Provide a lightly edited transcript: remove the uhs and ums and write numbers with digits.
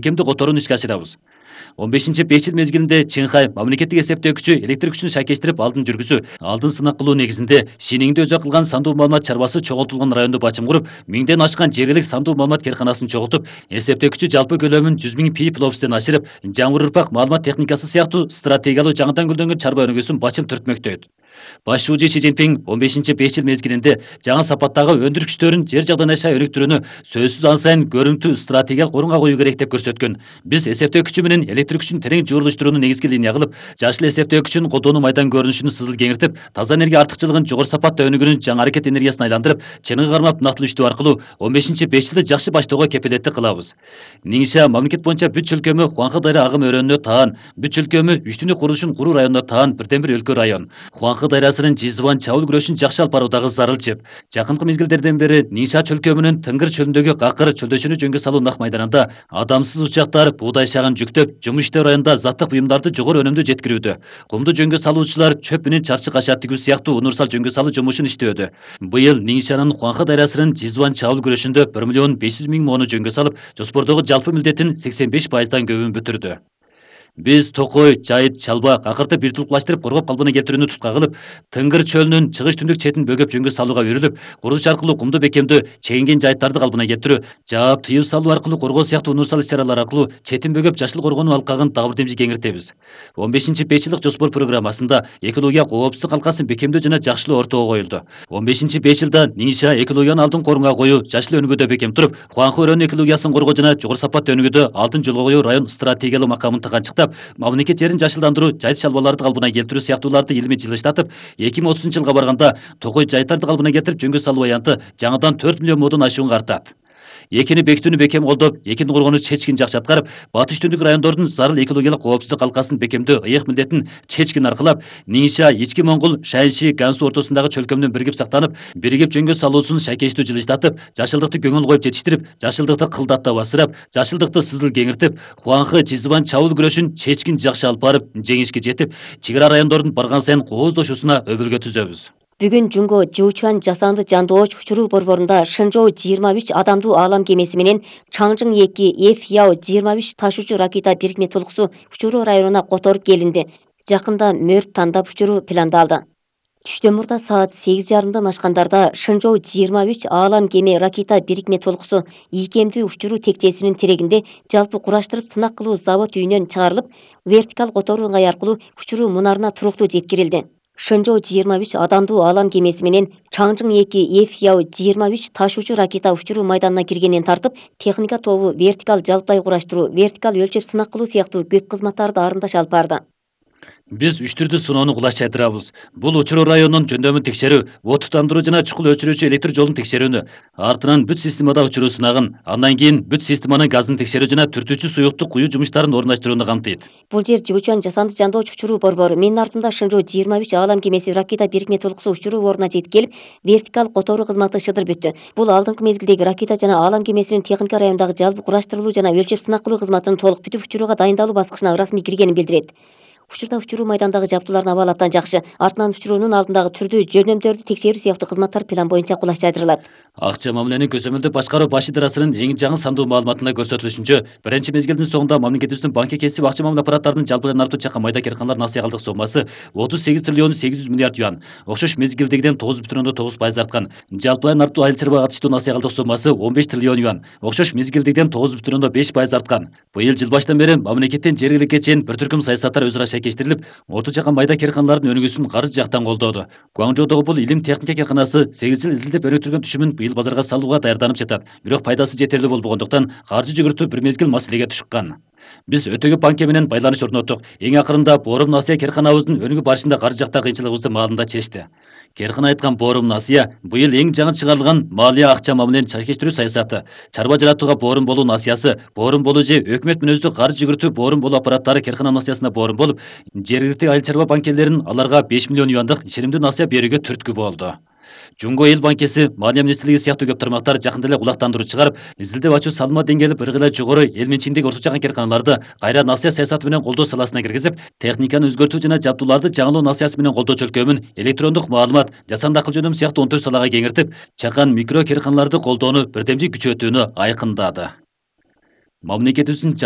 Кемди которууну ишке ашырабыз. 15-5 жыл мезгилинде Чыңхай мамлекеттик эсептөөкүчү электр күчүн шайкештирип алдын жүргүзүү, алдын сынак кылуу негизинде Шиниңде өзү кылган сандуу маалымат чарбасы чогултулган райондо бачым куруп, 1000ден ашкан жергилик сандуу маалымат керканасын чогултуп, эсептөөкүчү жалпы көлөмүн 100 000 пи пловстен ашырып, жаңыр урпак маалымат техникасы сыяктуу стратегиялуу жаңыдан гүлдөнгөн чарба өнүгүүсүн бачым түртмөктөйт. Баш шуучу Си Цзиньпин 15-5 жыл мезгилинде жаңы сапаттагы өндүрүш күчтөрүн жер жагдан аша өнүктүрүүнү сөзсүз ан сайын көрүнүктүү стратегиялык орунга коюу керек деп көрсөткөн. Биз эсептөө күчү менен электр күчүн терең жуурулуштурууну негизги линия кылып, жашыл эсептөө күчүн колдонуу майдан көрүнүшүнүн сызыл кеңиртип, таза энергия артыкчылыгын жогору сапатта өнүгүүнүн жаңы аракет энергиясына айландырып, чыныгы кармап нактылуу аркылуу 15-5 жылды жакшы баштоого кепилеттик кылабыз. Нingxia мамлекет боюнча бүт чөлкөмү Хуанхэ дайра агым өрөөнүнө таан, бүт чөлкөмү үчтүнүк курулушун куруу районуна таан бирден бир өлкө район. Хуанхэ дайрасынын Жизван чабыл күрөшүн жакшы алып баруудагы зарыл чеп. Жакынкы мезгилдерден бери Ningxia чөлкөмүнүн Тынгыр чөлүндөгү Какыр чөлдөшүнү жөнгө салуу нак майданында адамсыз учактар буудай шагын жүктөп, жумуш иштөө районунда заттык буюмдарды жогору өнүмдүү жеткирүүдө. Кумду жөнгө салуучулар чөп менен чарчы каша тигүү сыяктуу универсал жөнгө салуу жумушун иштөөдө. Быйыл Ningxia'нын Хуанхэ дайрасынын Жизван чабыл күрөшүндө 1,5 миллион mooну жөнгө салып, жоспордогу жалпы милдеттин 85%дан көбүн бүтүрдү. Биз Токой, Жайыт, Чалба, Какырды бир тулукташтырып коргоп калпына келтирүүнү тутка кылып, Тынгыр чөлүнүн чыгыш түндүк четин бөгөп жөнгө салууга үйрүлүп, курулуш аркылуу кумду бекемдүү, чегинген жайыттарды калпына келтирүү, жаап тыюу салуу аркылуу коргоо сыяктуу универсал иш-чаралар аркылуу четин бөгөп жашыл коргонуу алкагын дагы бир демжи кеңиртебиз. 15-5 жылдык жоспор программасында экология коопсуздук алкасын бекемдөө жана жакшылоо ортого коюлду. 15-5 жылда Ningxia экологияны алдын корунга коюу, жашыл өнүгүүдө бекем туруп, Хуанхэ өрөөнүн экологиясын коргоо жана жогору сапатта өнүгүүдө алдын жолго коюу район стратегиялык макамын тыганчыктап, мамлекет жерин жашылдандыруу, жайыт чалбаларды калпына келтирүү сыяктууларды илимий жылыштатып, 2030-жылга барганда Токой жайыттарды калпына келтирип жөнгө салуу аянты жаңыдан 4 миллион модон ашууга артат. Экини бекитүүнү бекем колдоп, экини коргонуу чечкин жакшы аткарып, батыш түндүк райондордун зарыл экологиялык коопсуздук алкасын бекемдөө ыйык милдетин чечкин аркылап, Ningxia Ички Моңгол, Шаньши, Гансу ортосундагы чөлкөмдүн биригип сактанып, биригип жөнгө салуусун шайкештүү жылыштатып, жашылдыкты көңүл коюп жетиштирип, жашылдыкты кылдаттап асырап, жашылдыкты сызыл кеңиртип, Хуанхэ Жизван чабыл күрөшүн чечкин жакшы алып барып, жеңишке жетип, чек ара райондордун барган сайын кооздошуусуна өбөлгө түзөбүз. Бүгүн Жунго Жуучуан жасанды жандооч учуруу борборунда Шэнчжоу 23 адамдуу аалам кемеси менен Чаңжың 2 F-Яо 23 ташуучу ракета бирикме толкусу учуруу районуна которуп келинди. Жакында мөрт тандап учуруу пландалды. Түштөн мурда саат 8:30 ашкандарда Шэнчжоу 23 аалам кеме ракета бирикме толкусу ийкемдүү учуруу текчесинин терегинде жалпы кураштырып сынак кылуу завод үйүнөн чыгарылып, вертикал которуу ыңгай аркылуу учуруу мунарына туруктуу жеткирилди. Шэнчжоу 23 адамдуу аалам кемеси менен Чаңжың 2 F-Яо 23 ташуучу ракета учуруу майданына киргенден тартып, техника тобу вертикал жалпай кураштыруу, вертикал өлчөп сынак кылуу сыяктуу көп кызматтарды арындаш алып барды. Биз 3 түрдүү сыноону кулаш жайдырабыз. Бул учуруу районунун жөндөмүн текшерүү, от тутандыруу жана чукул өчүрүүчү электр жолун текшерүүнү, артынан бүт системада учуруу сынагын, андан кийин бүт системанын газын текшерүү жана түртүүчү суюкту куюу жумуштарын орундаштырууну камтыйт. Бул жер Жуучуан жасанды жандооч учуруу борбору. Менин артымда Шэнчжоу 23 аалам кемеси ракета бирикме толкусу учуруу ордуна жетип келип, вертикал которуу кызматы шыдыр бүттү. Бул алдыңкы мезгилдеги ракета жана аалам кемесинин техника райондагы жалпы кураштырылуу жана өлчөп сынак кылуу кызматынын толук бүтүп учурууга дайындалуу баскычына ырасмий киргенин билдирет. Учурда учуруу майдандагы жабдуулардын абалы абдан жакшы. Артынан учуруунун алдындагы түрдүү жөндөмдөрдү текшерүү сыяктуу кызматтар план боюнча кулаш жайдырылат. Акча мамиленин көзөмөлдүп башкаруу баш идарасынын эң жаңы сандуу маалыматында көрсөтүлүшүнчө, биринчи мезгилдин соңунда мамлекетибиздин банкке кесип акча мамиле аппараттарынын жалпыдан артуу чакан майда керканалар насыя калдык соммасы 38 триллион 800 миллиард юан, окшош мезгилдегиден 9,9% арткан. Жалпыдан артуу айыл чарба катыштуу насыя калдык соммасы 15 триллион юан, окшош мезгилдегиден 9,5% арткан. Быйыл жыл баштан бери мамлекеттин жергиликке чейин бир түркүм саясаттар өзара шайкештирилип, оту жакан майда керканалардын өнүгүүсүн каржы жактан колдоду. Гуаңжоудогу бул илим техника керканасы 8 жыл изилдеп өнүктүргөн түшүмүн быйыл базарга салууга даярданып жатат. Бирок пайдасы жетерлүү болбогондуктан каржы жүгүртүү бир мезгил маселеге түшкөн. Биз өтө көп банке менен байланыш орноттук. Эң акырында Борум Насыя керканабыздын өнүгүү барышында каржы жакта кыйынчылыгыбызды маалында чечти. Керкана айткан Борум Насыя быйыл эң жаңы чыгарылган малия акча мамиленин чайкештирүү саясаты, чарба жаратууга борум болуу насыясы, борум болуу же өкмөт мүнөздүү каржы жүгүртүү борум болуу аппараттары керкана насыясына борум болуп, жергиликтүү айыл чарба банкелеринин аларга 5 миллион юандык ишенимдүү насыя берүүгө түрткү болду. Жунго эл банкеси, Малия министрлиги сыяктуу көп тармактар жакында эле кулактандыруу чыгарып, изилдеп ачуу салма деңгээли бир гыйла жогору эл менчигиндеги орточо чакан керканаларды кайра насыя саясаты менен колдоо саласына киргизип, техниканы өзгөртүү жана жабдууларды жаңылоо насыясы менен колдоо чөлкөмүн электрондук маалымат, жасанды акыл жөнөм сыяктуу 14 салага кеңиртип, чакан микро керканаларды колдоону бирдемжи күчөтүүнү айкындады. Мамлекетибиздин жайык